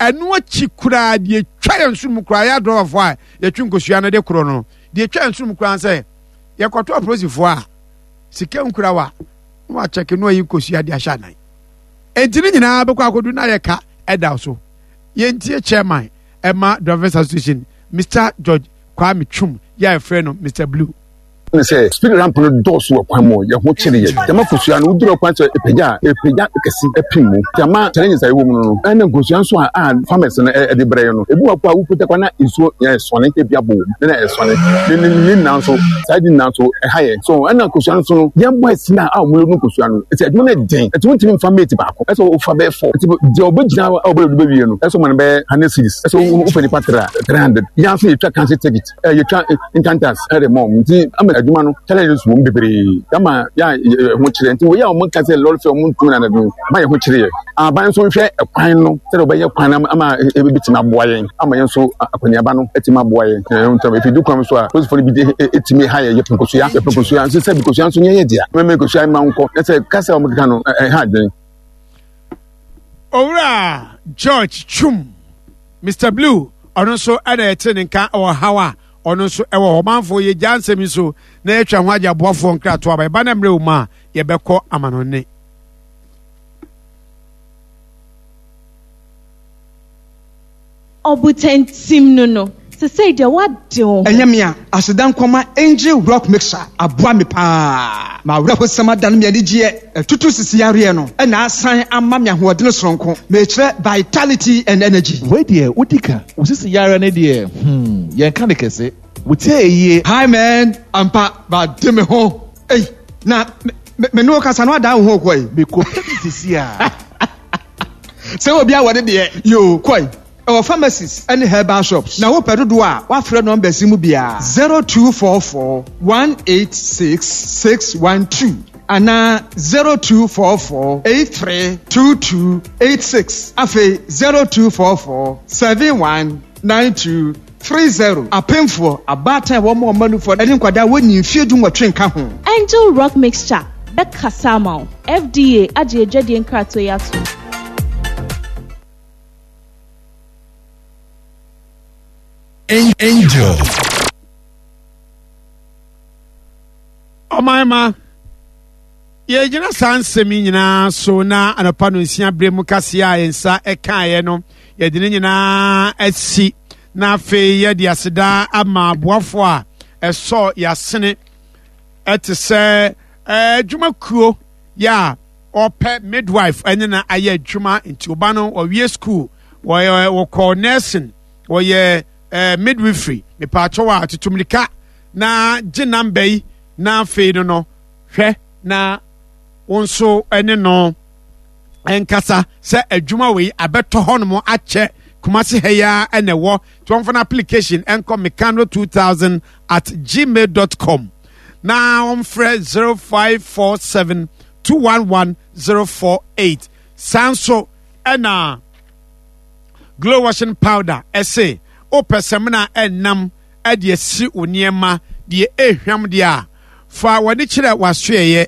Ɛno akyi koraa deɛ ɛtwa yɛn so mu koraa yɛ adrɔbafoɔ a yɛtwe nkosua no de korɔ no deɛ ɛtwa yɛn so mu koraa sɛ yɛkɔto apolisifoɔ a sika nkura wa na wakyɛke na wayi nkosua de ahyɛ anan. Enti ne nyinaa bɛkɔ akɔdu na yɛ ka ɛda so. Yɛntie chairman ɛma Drivers Association Mr George Kwame Twum yɛ a yɛfrɛ no Mr Blue. Ne sɛ speed ramp no dɔɔso wɔ kwan mu yɛ ho kyere yɛ gyama kosua no woduru kwan sɛ ɛpagya a ɛpagya kɛse ɛpem mu gyama challenges a ɛwɔ mu no no ɛna nkosua nso a a farmers no ɛde brɛ yɛ no ebi wɔ kɔ a wopagya kɔ na nsuo yɛ ɛsɔne ebi abɔ wɔ mu na ɛsɔne ne ne ne nyinaa nso saa de nyinaa nso ɛha yɛ so ɛna nkosua nso no yɛn boys na a wɔn no nkosua no ɛsɛ adwuma no ɛden ɛti wɔntumi nfa mate baako ɛsɛ wofa bɛyɛ fɔ ɛti deɛ ɔbɛgyina a ɔbɛyɛ bɛwie no ɛsɛ ɔma no bɛyɛ 100 cedis ɛsɛ wofɛ nipa tra 300 yɛn nso yɛtwa council ticket yɛtwa nkantas ɛde mɔ nti ama adwuma no challenges wɔ mu bebree ama yɛ a ho kyerɛ nti wɔyɛ a wɔn ka sɛ lɔri fɛ wɔn ntumi na no ama yɛ ho kyerɛ yɛ aban nso nhwɛ kwan no sɛdeɛ wɔbɛyɛ kwan no ama ebitumi aboa yɛn ama yɛn nso akɔneaba no atumi aboa yɛn ɛɛ ntam efi du kwan so a polisifoɔ no bi de etumi ha yɛ yɛpɛ nkosua yɛpɛ nkosua nso sɛ nkosua nso nyɛ yɛ dea mɛmɛ nkosua mma nkɔ ɛsɛ kasa a wɔn keka no ɛha adwene. Owura George Chum Mister Blue, ɔno nso na yɛte ne nka wɔ haw a ɔno nso wɔ hɔ. Ɔmanfoɔ, yɛgyaa nsɛm yi so na yɛatwa ho agye aboafoɔ nkratoɔ aba. Ɛba no mmerɛ wɔ mu a, yɛbɛkɔ amanɔnne. Ɔbotantim no no, sesei deɛ woade wo ho. Ɛnyɛ me a, aseda nkɔma Angel Rock Mixer aboa me paa. M'awerɛhosɛm adane me anigyeɛ, atutu sisi yareɛ no na asan ama me ahoɔdene soronko. Mekyerɛ vitality and energy. Wei deɛ wodi ka. Wo sisi yareɛ no deɛ hmm yɛnka no kɛse. Wo tie ayie. Hi man, ampa made me ho ei na me me ne wo kasa no adan wo ho kɔ ei. Mekɔ pɛ bi sisi a. Sɛ obi awɔ ne deɛ yoo kɔ ei. Ɛwɔ pharmacies ne herbal shops. Na wopɛ dodoɔ a, woafrɛ numbers yi mu biara, 0244 186 612 anaa 0244 83 22 86. Afei 0244 71 92 30. Apemfoɔ, abaatan a wɔma wɔn mma nufoɔ ne nkwadaa a wɔnnii mfeɛ dunwɔtwe nka ho. Angel Rock Mixture bɛkasa ama wo. FDA agye adwadie nkratoɔ yi atom. Angel. Ɔman ma yɛgyina saa nsɛm yi nyinaa so na anɔpa no nsia berɛ mu kaseɛ a yɛn nsa ɛkaeɛ no yɛde ne nyinaa asi na afei yɛde aseda ama aboafoɔ a ɛsɔ yɛasene ɛte sɛ adwumakuo yɛ a ɔpɛ midwife ɛne na ayɛ adwuma nti ɔba no ɔwie school wɔyɛ wɔkɔ nursing wɔyɛ ɛɛ midwifery mepaakyɛw a tutu mirika na gye namba yi na afei no no hwɛ na wo nso ɛne no nkasa sɛ adwuma wei abɛtɔ hɔnom akyɛ Kumasi ha yi ara ɛna ɛwɔ nti wɔmfa no application ɛnkɔ mekano 2000 at gmail dot com na wɔmfrɛ 0547 211 048 saa nso ɛna glow washing powder ɛse wopɛ sɛmina ɛnam ɛde asi wo nneɛma deɛ ɛhwam deɛ a fa w'ani kyerɛ w'asoɛyɛ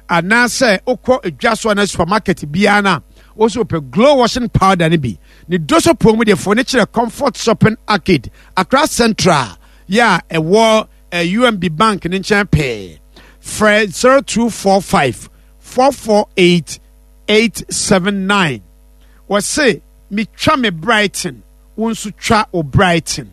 anaasɛ wokɔ dwa so anaa supermarket biara no a wo so wopɛ glow washing powder no bi ne doso pɔn mu deɛ fa w'ani kyerɛ comfort shopping arcade Accra Central yɛ a ɛwɔ UMB Bank ne nkyɛn pɛɛ. Frɛ 0245 448 879. Wɔse metwa me Brighton, wo nso twa wo Brighton.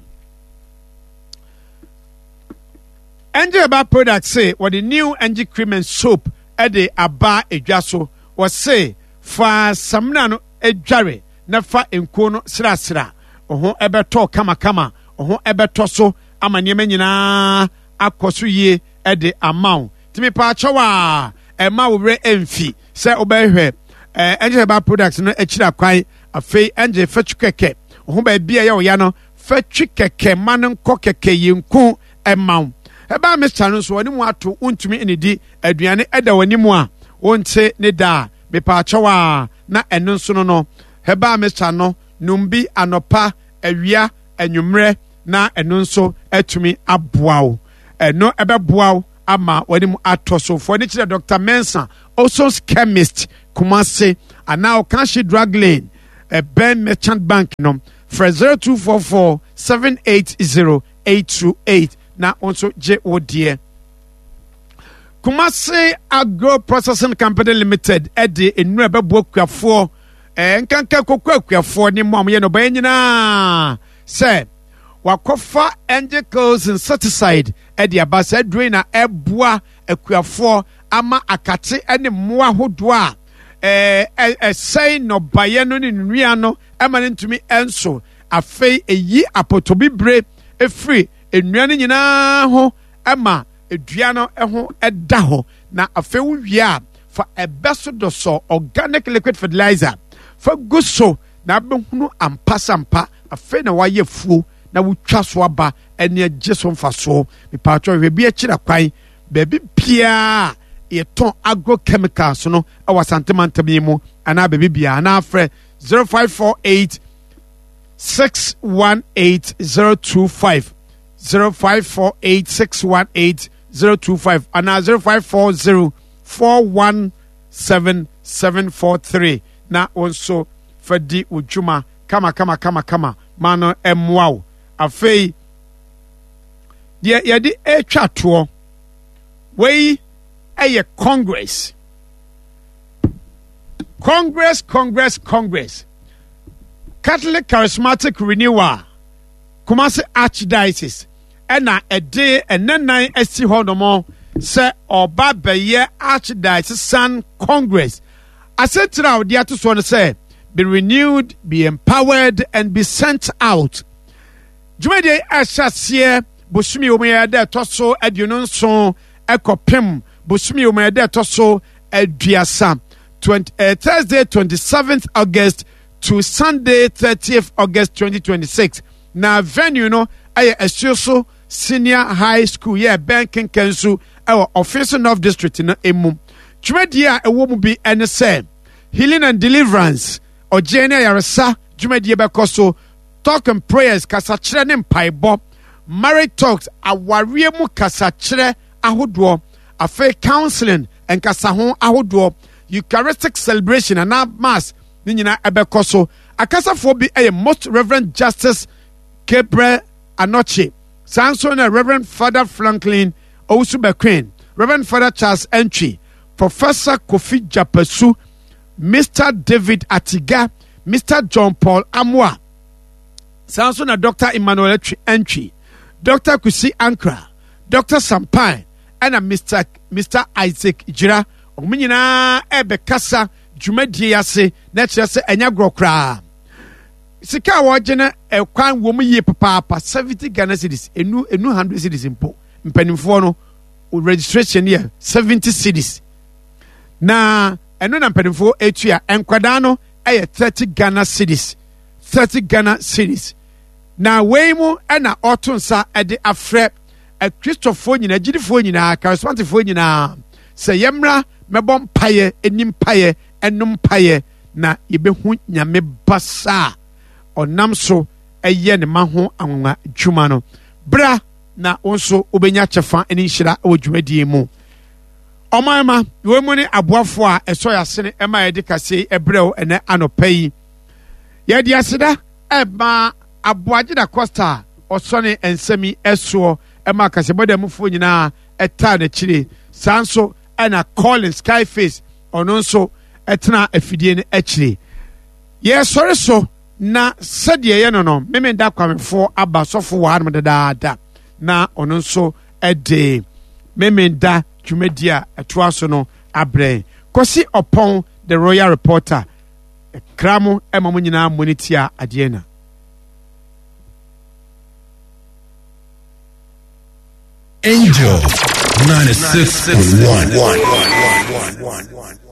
Angel Herbal Product se wɔde new Angel Cream and Soap de aba edwa so. Wɔse fa samina no dware na fa nkuo no srasra. Wo ho bɛtɔ kamakama, wo ho bɛtɔ so ama nneɛma nyinaa akɔ so yie de ama wo. Nti mepaakyɛw a ɛma wo werɛ mfi sɛ wobɛhwɛ eh, Angel Herbal Products no akyiri akwan. Afei Angel fɛtwi kɛkɛ, wo ho baabi a ɛyɛ wo ya no fɛtwi kɛkɛ ma no nkɔ kɛkɛ yɛnku ɛma wo. Herbal mixture no nso wɔne mu ato wontumi nnidi aduane ɛda w'anim a wonte ne da a mepaakyɛw a na ɛno nso no no herbal mixture no nom bi anɔpa, awia, anwummerɛ na ɛno nso atumi aboa wo. Ɛno ɛbɛboa wo ama w'anim atɔ so. Fo ani kyerɛ Dr. Mensah, Oson's Chemist, Kumasi, anaa Okanshi Drug Lane. Ɛbɛn Merchant Bank no. Frɛ 0244 780 828 na wo nso gye wo deɛ. Kumasi Agro Processing Company Limited ɛde nnuro a ɛbɛboa akuafoɔ ɛɛ nkanka koko akuafoɔ ne mu a wɔyɛ nnɔbaeɛ nyinaa sɛ wakɔfa Angels insecticide ɛde aba. Saa aduro yi na ɛboa akuafoɔ ama akate ne mmoa ahodoɔ a ɛɛ ɛsɛe nnɔbaeɛ no ne nnua no ɛma no ntumi ɛnso. Afei ɛyi apɔtɔbibire ɛfiri nnua no nyinaa ho ɛma dua no ho da hɔ. Na afei wowie a, fa ɛbɛ so dɔsɔ organic liquid fertilizer fa gu so na abɛhunu ampasampa. Afei na wayɛ fuo na wotwa so aba ɛne agye so mfasoɔ. Mepatwɔ hwɛ bi akyira kwan baabi biara yɛtɔn agrochemicals no ɛwɔ Asante mantam yi mu anaa baabi biara, anaa frɛ 0548 618 025, 0548 618 025 anaa 0540 417 743 na wo nso fa di wo dwuma kama kama kama kama ma no mmoa wo. Afei deɛ yɛde atwa toɔ wei ɛyɛ Congress, Congress, Congress, Congress, Catholic Charismatic Renewal Kumasi Archdiocese ɛna ɛde ɛnɛnan asi hɔ nom sɛ ɔba bɛyɛ Archdiocesan Congress. Asɛntire a ɔde ato soɔ no sɛ be renewed, be empowered and be sent out. Dwumadie ɛhyɛ aseɛ bosome wɔ mu yɛ dɛ ɛtɔ so 27 ɛkɔpem bosome wɔ mu yɛ dɛ ɛtɔ so 30, Thursday 27th August to Sunday 30th August 2026. Na venue no ɛyɛ Asuoso Senior High School yɛ ɛbɛn Kenkansu ɛwɔ Offinso North District no emu. Dwumadie a ɛwɔ mu bi ɛne sɛ healing and deliverance, ɔgyeɛ ne ayaresa dwumadie bɛkɔ so, talk and prayers, kasakyerɛ ne mpaebɔ, marriage talks, awareɛ mu kasakyerɛ ahodoɔ, afei counseling, nkasaho ahodoɔ, Eucharistic celebration anaa mass ne nyinaa ɛbɛkɔ so. Akasafoɔ bi ɛyɛ Most Reverend Justice Gabriel Anokye, saa nso na Reverend Father Franklin Owusu Bequin, Reverend Father Charles Entry, Professor Kofi Japasu, Mr. David Atiga, Mr. John Paul Amoah, saa nso na Dr. Emmanuel Entry, Dr. Kusi Ankra, Dr. Sampan, ɛna Mr. Isaac Jira. Wɔn nyinaa ɛbɛkasa dwumadie ase na kyerɛ sɛ ɛnyɛ agorɔ koraa. Sika a wɔgye no ɛkwan wɔ mu yie papaapa, 70 Ghana cedis, enu 100 cedis mpo. Mpanimfoɔ no registration yɛ 70 cedis, na ɛno na mpanimfoɔ etua. Nkwadaa no ɛyɛ 30 Ghana cedis, 30 Ghana cedis. Na wei mu ɛna ɔto nsa ɛde afrɛ akristofoɔ nyinaa, agyidifoɔ nyinaa, charismaticfoɔ nyinaa sɛ yɛmmra mɛbɔ mpaeɛ, ɛni mpaeɛ, ɛnom mpaeɛ, na yɛbɛhu Nyame basa a ɔnam so ɛyɛ ne ma ho anwanwa dwuma no. Bra na wo nso wobɛnya kyɛfa ne nhyira wɔ dwumadie mu. Ɔman ma wɔn mu ne aboafoɔ a ɛsɔ yɛ asene ɛma yɛde kaseɛ ɛbrɛw ɛnɛ anɔpa yi. Yɛde aseda ɛma Aboagye da Costa a ɔsɔne nsɛm yi ɛsoɔ ɛma kaseɛbɔdamufoɔ nyinaa ɛtaa n'akyire. Saa nso ɛna Colin Skyface ɔno nso ɛtena afidie no akyire. Yɛsɔre so na sɛdeɛ ɛyɛ no Memenda Kwamefoɔ aba sɔfo wɔ hanom dadaada na ɔno nso ɛde Memenda dwumadie a ɛtoa so no abrɛ. Kwasi Ɔpɔn the Royal Reporter kra mo ɛma mo nyinaa mo ne tia adeɛ na. Angel 96.1.